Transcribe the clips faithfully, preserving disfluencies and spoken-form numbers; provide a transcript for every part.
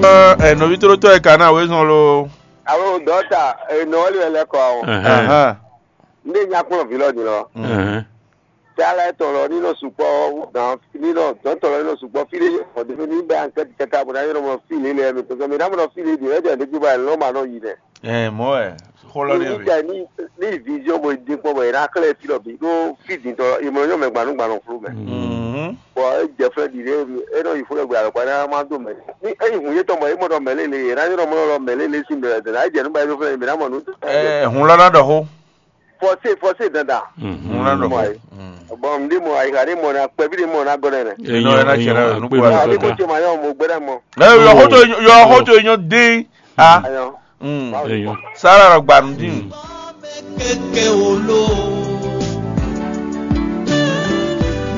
Ɛ nɔví tlótɔ́ e ka ná wezɔn lo. Alo dɔta, enɔ wɛ lɛ kɔ o. Ɛhɛn. Ahán. Nde nya kplɔn vǐ lɔ din lɔ. Ɛhɛn. Tala etɔn lɔ ni nɔ sukpɔ gan ni nɔ dɔtɔ lɔ ni nɔ sukpɔ fi de ɔdun ni bɛ an kɛti kɛta bo na yɔrɔ mɔ fi le lɛ mi to mi na mɔ fi le di lɛ jɛ ne juba lɔ ma nɔ yi dɛ. Ɛ mɔ ɛ xɔlɔ ni Ni bɛ. Jɛ ni ni vision bo di kpɔ bɔ yɛrɛ akɛlɛ fi lɔ bi ɖo fi di tɔ emɔ nyɔ mɛ gbanu gbanu flu mɛ. Mhm. Bɔn e jɛ fɛ di ɖe e nɔ yi fo lɛ gbe alɔkpa ne ma do mɛ. Ni e yi hun ye tɔn bɔ e mɔ dɔ mɛ le le yɛrɛ na yɔrɔ mɔ lɔ mɛ le le si mɛ dɛ na e jɛ nu ba yi do fɛ mi na mɔ nu. Ɛ hun lɔ na dɔ xo. Fɔse fɔse dandan. Hun lɔ na dɔ xo. Bɔn n de mɔ ayixa de mɔ na kpɛbi de mɔ na gɔnɛ nɛ. Enɔ ena cɛ na nu kpɔ. Ni ko ce ma yɔ mo gbɛdɛ mɔ. Ɛ yɔ xɔ to yɔ xɔ to nyɔ den. A. Ayɔ. Eyɔn. Sara lɔ gba nudin. Keke olo.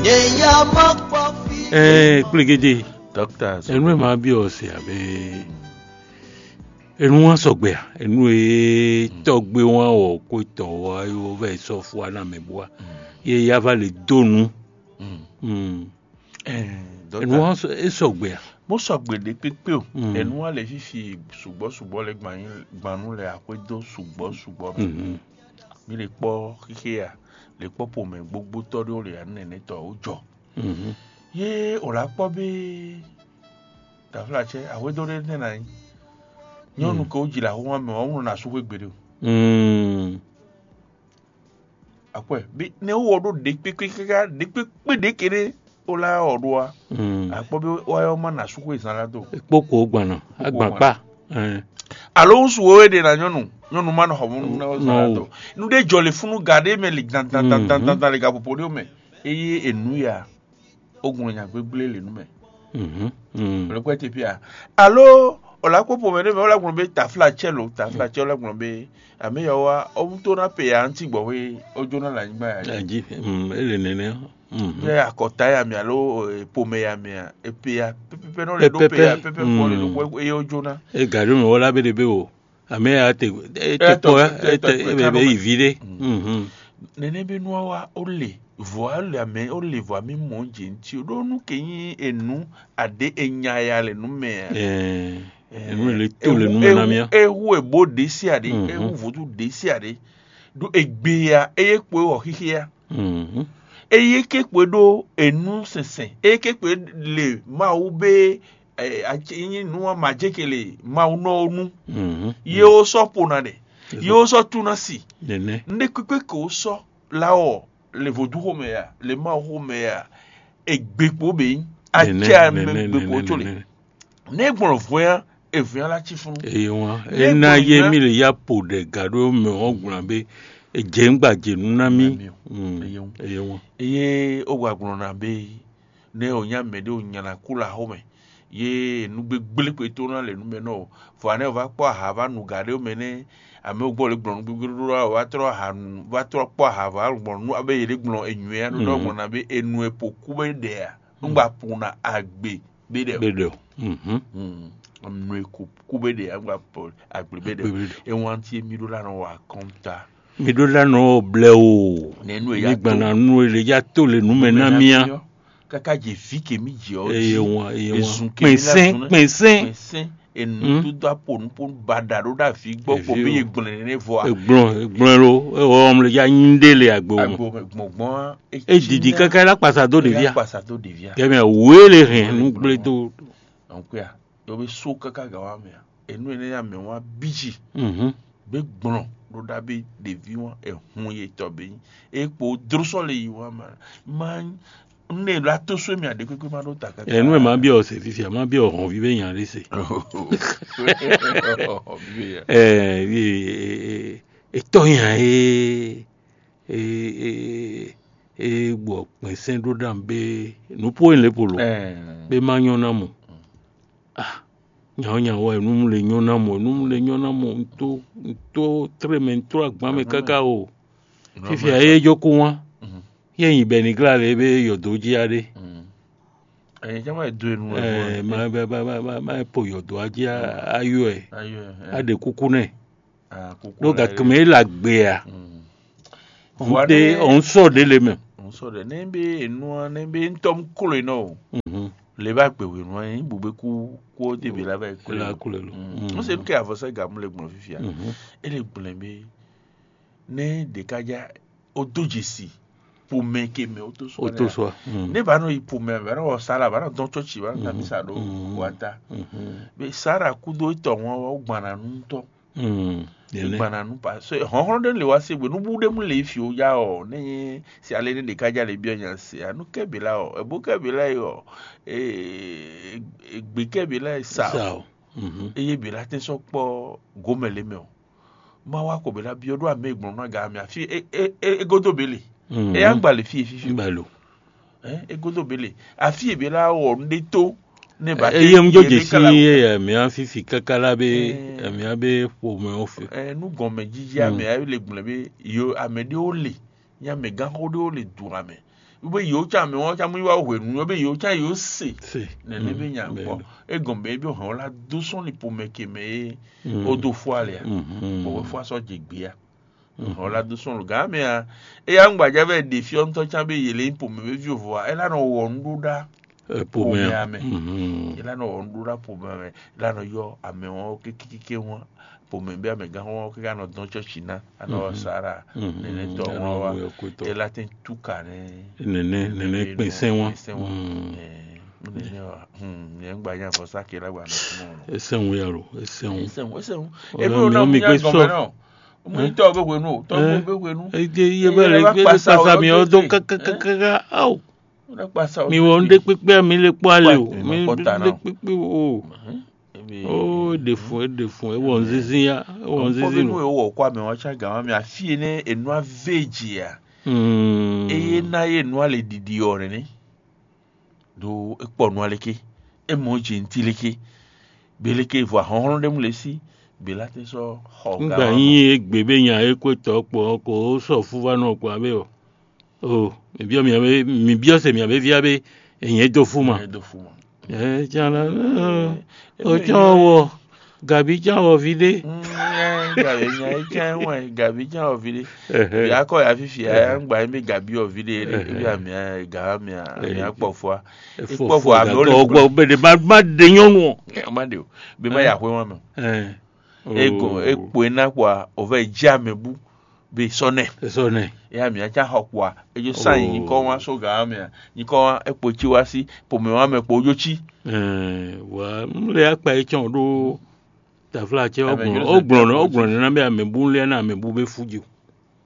Nye ya ma kpɔ fi. Ɛɛ kplegede. Doctors. Enu e ma bi ɔ se abe enu wa sɔgbe a enu e tɔgbe wa wɔ ko tɔ wa yo vɛ sɔ fua na mɛ bua ye ya va le do nu. Mm. Enu wa sɔ- e sɔgbe a. Mo sɔgbe ɖe kpékpé o. Mm. Enu wa le fifi sugbɔ sugbɔ le gban gbannu le akwɛdo sugbɔ sugbɔ mɛ. Mhm. Mi le kpɔ xixea le kpɔ pomɛ gbogbo tɔ ɖewo le anu nɛnɛ tɔ wo jɔ. Mhm. Ye o la kpɔ be taflatsɛ ahwedo ɖe nɛ na nyi nyɔnu ke wo dzi le ahoma mɛ wa wonɔ na su xwe gbeɖe o. Mm. Akwɛ bi ne wɔ ɖo ɖe kpekpe kaka ɖe kpekpe ɖe ke ɖe o la wɔ ɖo wa. Mm. Akpɔ bi wa yɔ ma na su xwe zan la do. Kpokpo gbanɔ agbankpa. Ɛn. Alo ŋsu wo ɖe na nyɔnu nyɔnu ma nɔ xɔ mu na o zan la do. Nu ɖe jɔ le funu ga ɖe mɛ le dan dan dan dan dan dan le ga popo ɖe o mɛ eye enu ya o gun nya gbegble le nu mɛ. Mhm. Mm. Le kpɛ te pia alo o la kpɔ pomɛ ɖe mɛ o la gblɔ be tafla tsɛ lo tafla tsɛ o la gblɔ be ame ya wa o to na pe ya ŋti gbɔ we o jo na le anyigba ya dzi. Adzi. Mm, ele nene. Mhm. Bɛ akɔta ya mi alo eh, pomɛ ya mi a epe ya pɛpɛpɛ nɔ le ɖo pe ya Pɛpɛpɛ. Pɛpɛ kɔ le Mm. ɖo eye o jo na. E gari mi wɔ la be de be o. Ame ya te e te Etɔ- kpɔ etɔ- etɔ- ebe etɔ- be yi vi ɖe. Mhm. Nene be nua wa o le vɔa le ame o le vɔa mi mɔ dze ŋti o ɖo nu ke nyi enu aɖe enya ya le nu mɛ a. Ɛɛ, enu le to le nu mɛ na mía. Ewu ebo ɖe si aɖe Mhm. Ewu vodu ɖe si aɖe ɖo egbe ya eye kpo ewɔ xixi ya. Mhm. Eye ke kpo ɖo enu sɛnsɛn eye ke kpo le mawu be ɛ, atsi- nyi nu wa ma jɛ ke le mawu nɔ wo nu. Mhm. Ye wo sɔ po na ɖe ye wo sɔ tu na si Nene. Nde kpekpe ke wo sɔ la wɔ le vodu xomɛ ya le mawu xomɛ ya egbe kpo be nyi Nene, atsɛ ame nene, gbe kpo nene, tso le nene. Ne gblɔ vɔn ya evɔn ya la tsi funu. Eye wan Ne ena gblɔ ye nya- mi le ya po ɖe ga ɖo mɛ wɔn gblan be edze ŋgba dze nu na mi. Na mi o. Mm. Eye wan. Eye wan. Eye o gba gblɔ na be ne o nya mɛ ɖe o nya na ku la xomɛ ye nu gbegble kpe to na le nu mɛ nɔ o vɔ anɛ o va kpɔ aha va nu ga ɖe o mɛ ne ame o gbɔ le gblɔ nu gbegble ɖo la o va trɔ aha nu va trɔ kpɔ aha va gblɔ nu abe ye ɖe gblɔ enyuɛ ya ɖo ɖɔ gblɔ na be enu e po ku be ɖe a nu gba po na agbe be ɖe o. Be ɖe o. Mhm. Hmm. Enu e ku ku be ɖe a gba po agbe be ɖe o. Agbe be ɖe. Ewanti mi ɖo la nɔ wa kɔnta. Mi ɖo la nɔ blɛ o. Nenu e ya mi gbana nu e le ya to le nu mɛ na mia. Kaka dze vi ke mi dze ɔ eye dzi wan eye wan ezun ke mi la kpɛnsɛn zun kpɛnsɛn kpɛnsɛn enu Hmm. Dodo apo nupo baɖa ɖo ɖe avi gbɔ kpɔ Evi be o. Ye gblẽ ne vɔ a. Egblɔn egblɔn lo ewɔ ɔmle ya nyi ɖe le agbo me. Agbo me gbɔngbɔn a. Edidi kaka la kpasa do ɖevi a. Kpasa do ɖevi a. Kɛmɛ wele hɛn nu gblẽ do. Donc ya yɔ be so kaka ga wa mɛ a. Enu ene ya mɛ wa biji. Mhm. Be gblɔn ɖo ɖa be ɖevi wa ehun ye tɔ be nyi. E kpo dro sɔ le yi wa ma ma ne la to so mi aɖe kpekpe ma ɖo ta kaka. Enu e ma biɔ se fifia ma biɔ hɔnvi be nya ɖe se. Ɔbi be ya. Ɛ etɔ nya e e e e gbɔ kpɛnsɛn ɖo ɖam be nupo yin le polo. Ɛ. Be ma nyɔ na mo. Ah, nyawo nyawo enu mu le nyɔ na mo enu mu le nyɔ na mo nto nto tre mɛ nto agban mɛ kaka o. Fifia ye jo ko wa. Ye nyi bɛ ni gla le be yɔdo ji aɖe. Ɛyìn jẹ́ máa do enu ẹ̀ fún ẹ. Ma ma ma ma ma ma po yɔdo aji ayɔ ɛ. Ayɔ ẹ. Aɖe kuku nɛ. Ɖo gake mɛ la gbe a. Vɔa ŋte ne ɔn sɔ ɖe le mɛ. Ŋsɔ ɖe ne be enua ne be ŋtɔ mu klo enɔ o. Mhm. Le ba gbe hwenu anyi bugbe kú kó de be la ba kú la kú le lo. Mm. N se nu ke avɔsa ga mu le gbɔn fifia. Mhm. Ele gblɛ be ne ɖeka ja o do dzesi pomɛ ke mɛ o to so. O to so. Mm. Ne ba nɔ yi pomɛ ba nɔ wɔ sala ba nɔ dɔn tsɔtsi ba nɔ ta misa ɖo wata. Mhm. Be sara kudo etɔ wọn wa o gbana nu tɔ. Mm. Gbana nu pa so hɔnhlɔn ɖe le wa se gbe nubu ɖe mu le fi o ya ɔ ne si ale ne ɖeka ja le biɔ nya se a nu kɛ be la ɔ ebo kɛ be la yi ɔ egbe kɛ be la yi sa o. Eye be la tɛ sɔ kpɔ gomɛ le mɛ o ma wa ko be la biɔ ɖo ame gblɔn na ga ame afi egodo be le eya gba le fi fifi. Egodo be le afi ebe la wɔ nu ɖe to ne ba eye mu jó dze sí ye mia fifi kaka la be mia be ƒomɛ wo fe. Nu gɔmɛ jiji ame ayi le gblɛ be yo ame ɖewo le nye amegãxo ɖewo le du ame be yewo tsã ame wɔn tsã mu yi wa hwenu yɔ be yewo tsã yewo se nene be nya kpɔ egɔn be be hɔn la do sɔn ni ƒomɛ ke mɛ ye o do fɔ ale a bɔbɔ fɔ asɔ dze gbea. Ɔ́ la dó sɔn lǒgá mɛ a eya ŋgbaja vɛ ɖe fyɔ́ntɔ́ can be yě lɛ́ nyí pomɛ ví vovo a é lá nɔ wɔ nǔ ɖó ɖá pomɛ amɛ é lá nɔ wɔ nǔ ɖó ɖá pomɛ amɛ é lá nɔ yɔ amɛ wɔn kékékéké wɔn pomɛ bí amɛgán wɔn kéké anɔ dɔn tsɔ́tsi ná anɔ wɔ sara nɛnɛ tɔ wɔn wa é lá tɛn túkà nɛ nɛnɛ nɛnɛ kpɛnsɛn wɔn nɛnɛ wa nyɛ ŋgbaja vɔsa kela gba nɔ fún ɔn. Esɛn wu yalo esɛn wu. Esɛn wu esɛn wu. Emi o na mu nya gɔmɛ nɔ. Mú tɔ́ bɛ hwenu o, tɔ́ bɛ hwenu. Ede iye bɛ le gbé kpasa mi ɔ dó kákákáká aw. Mi wɔ nu ɖe kpekpe mi le kpɔ ale o, mi nu ɖe kpekpe o. O ɖe fun e ɖe fun e wɔ nzinzin ya, e wɔ nzinzin lo. Wɔ kɔ amɛ wɔn tsá gǎn mi afi ene enu ave dzi ya. Eye na ye nu ale ɖiɖi ɔ nene. Ɖó é kpɔ nu aleke, é mɔ jɛnti leke, gbe leke vɔ ahɔnhlɔn ɖé mu le sí, gbe la tɛ sɔ xɔ ga. Ŋgbà nyi egbe be nya e kwe tɔ kpɔ ko sɔ fúvá nɔ kpɔ abe o. O, mi biɔ mi abe mi biɔ se mi abe via be enyɛ do fu ma. Enyɛ do fu ma. Ɛ can la o can wɔ gabi can wɔ vi ɖe. Gabi nya e can wɔ gabi can wɔ vi ɖe. Yakɔ ya fifi ya ŋgba mi gabi wɔ vi ɖe ebi amia ga amia amia kpɔ fua. Kpɔ fua mi o le gbɔ be de ma de nyɔnu o. Ma de o be ma ya hwe wan mɛ. Ego ekpo ena kpɔa o vɛ dzi ame bu be sɔnɛ. Sɔnɛ. Ya mi atsa xɔ kpɔa edzo sa yi nyikɔ wan so ga amia nyikɔ wan ekpo tsi wa si pomɛ wan mɛ kpo odzo tsi. Wa n le akpa yi tsɔn ɖo tafla tsɛ o gblɔn o gblɔn ne na be ame bu le na ame bu be fu dzi o.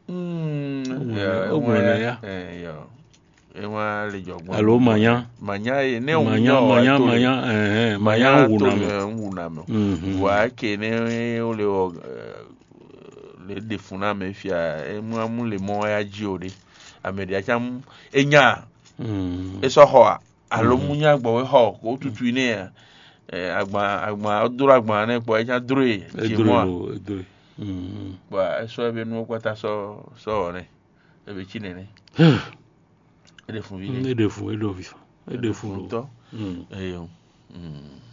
O gblɔn ne ya. Ewa le jɔ gbɔn. Alo manya. Manya ye ne o manya manya manya ɛhɛn manya wu na mɛ. Wu na mɛ. Wa ke ne o le wɔ le de fun na mɛ fia emu amu le mɔ ya ji o de. Ame de atsa mu enya. E sɔ xɔ a. Alo mu nya gbɔ wɛ xɔ ko tutu yi nɛ ya. Agban agban dro agban nɛ kpɔ e nya dro ye dzi mɔ a. Bɔ esɔ ebe nuwo kpata sɔ sɔ wɔ nɛ ebe tsi nɛnɛ. Eɖe fun vi ɖe. Eɖe fun eɖo vi eɖe fun tɔ. Eyo.